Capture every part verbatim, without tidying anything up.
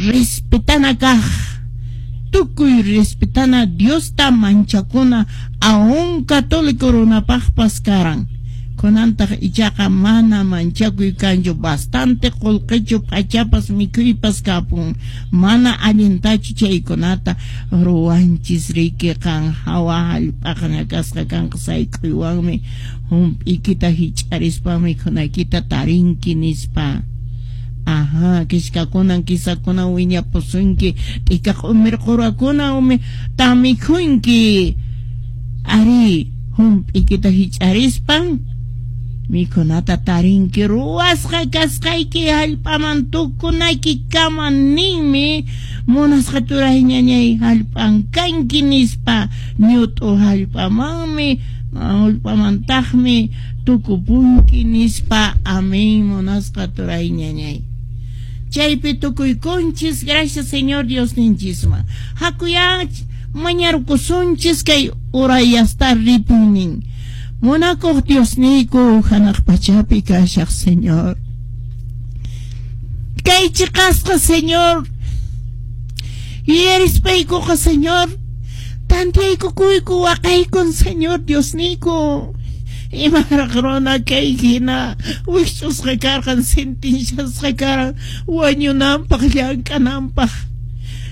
Respetana kaq, tukuy respetana, Diosta manchakuna, aún católico runapaqpas karan. Kunantaq ichaqa mana manchakuy kanchu, bastante qullqichu, p'achapas, mikhuypas kapun. Mana allintachu chaykunata ruwanchis riki. Qan hawa hallp'aqa ñakasqa kanqa sayk'uywanmi, hump'ikita hich'arispa mikhunaykita tarinki nispa. Ajá, kishkakunan kisakunan wiñapusunki, t'ika q'umir qurakuna umi tamikhunki. Ari, hump'ikita hich'arispan mikhunata tarinki, ruwasqa kasqayki hallp'aman tukunayki kama ninmi. Munasqa turay ñañay, hallp'an kanki nispa, ñut'u hallp'amanmi, hallp'amantaqmi tukupunki nispa. Amén, munasqa turay ñañay. Chaypi tukuykunchis, gracias Señor Dios ninchisman. Hakuya mañarkusunchis kay urayasta ripunin. Munakuq Diosniyku, hanaq pachapi kashaq Señor. Kay chiqasqa, Señor. Yuyarispaykuqa, Señor. Tantiyaykukuyku, waqaykun, Señor Diosniyku. Imaraq runa kay hina wikch'usqa karqan, sentenshasqa karqan wañunanpaq, llank'ananpaq.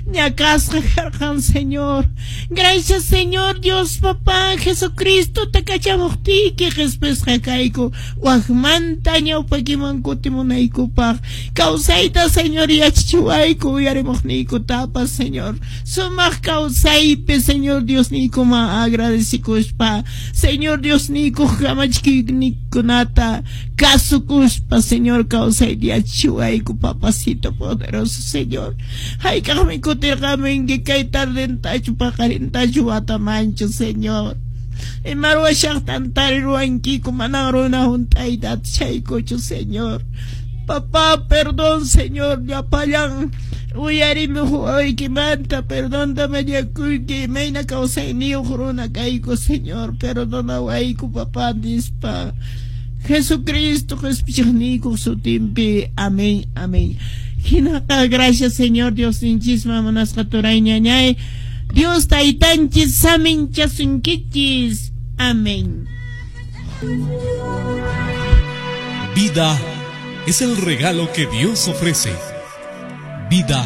Ñakasqa karqan, Señor. Gracias, Señor Dios Papá, Jesucristo ta kachamuqtiyki qhispisqa kayku wakmanta ñawpakiman kutimunaykupaq. Kawsayta, Señor, yachachiwayku, uyarimuqniykutapas, Señor. Sumaq kawsaypi, Señor Diosniykuman agradecikuspa, Señor Diosniykuq kamachikuyninkunata kasukuspa, Señor, kawsayta yachachiwayku, Papacito poderoso, Señor. Hayk'aqmi kutirqamunki kay tardentachu, paqarintachu, watamanchu, Señor. Ima ruwashaqtan tariruwankiku, manan runa hunt'ayta atishaykuchu, Señor. Papá, perdón, Señor, llapallan uyarimuq wawaykimanta perdonta mañakuyki, imayna kawsayniyuq runa kayku, Señor, perdonawayku, papá, nispa. Jesucristo qhispichiqniykuq sutinpi. Amén, amén. Hinaqa gracias Señor Dios ninchisman, munasqa turay ñañay. Dios taytanchis saminchasunkichis. Amén. Vida es el regalo que Dios ofrece. Vida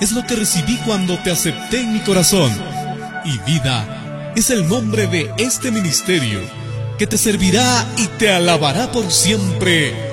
es lo que recibí cuando te acepté en mi corazón. Y vida es el nombre de este ministerio que te servirá y te alabará por siempre.